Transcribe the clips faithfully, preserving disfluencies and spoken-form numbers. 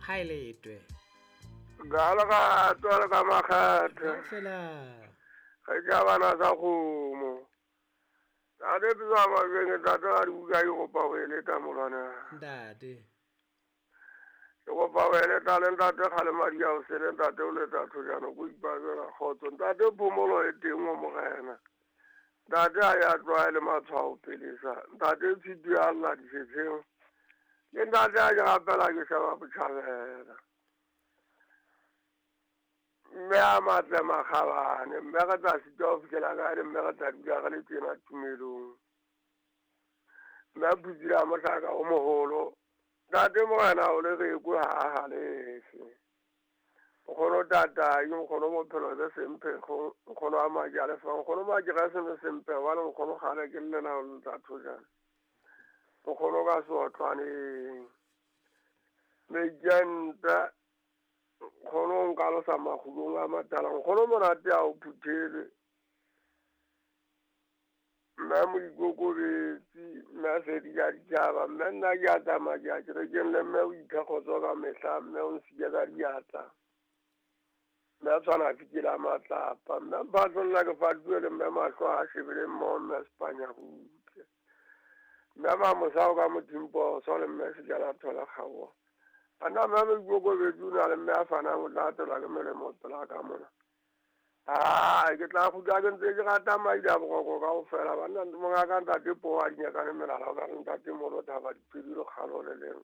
Haeletwe. Gala ka tswala ka makgethe. Fela. Ge ke bana sa kgomo. Ntate Pitso Majweng, ntate ga di buka ke kopa go eleta molwana. Ntate. Ke kopa go eleta le ntate kgale madi a o sele ntate o leta thojana ko ipabela kgotso. Ntate phomolo e teng mo morena. Ntate a ya tlwaele matshwao pelesa. Ntate tshito ya lla disetsheng. Le ntate a ke rapela ke sheba botjhabela. Mme a matle makgabane, mme re tla sitwa ho fihlela kae, mme re tla dula re le tjena tumelong. Mme a phutsile a mohlaka o moholo. Ntate morena o le rekwe ha a halefe. Nkgono tatai, nkgono bophelo be semphekgo, nkgono a madi a lefa, nkgono madi ga se be semphekgo, bale nkgono kgale ke llela ho ntate thojana. Nkgono ka seotlwaneng. Mejanta nkgono nka losa makgulong a matala, nkgono monate a o phuthelwe. Mme moikokobetsi, mme a se di ja ditjhaba, mme nna ke a tsamaya ke ya kerekeng le mme o iphe kgotso ka mehla, mme o nsiya ka diatla. Mme a tshwana fikela matlapa, mme mphatlo nna ke fatuwe le mme mahlo a shebile mmoho mme Spanya butle. Mme mamosa o ka mothimposo le mme sejana thola kgaoha. Ana mme moikokobetsi o na le mme a fanang o tla atelwa ke melemo pela ka mona. Ah, ke tla kgutla ke ntse ke rata madi a boroko kaofela. Banna mongaka ntate po a dinyakane melala o ka re ntate moholo thaba dipedi le kgalo le leng.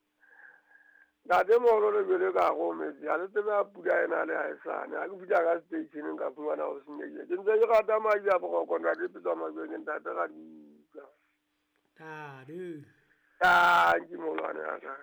Ntate moholo le bele ka go metsi a le tsebe a pula ena le ha e sane. Ha ke fihla ka seteisheneng ka fumana ho senyehile. Ke ntse ke rata madi a boroko ntate Pitso Majweng, ntate ga di utlwa. Ntate. Tanki molwane wa ka.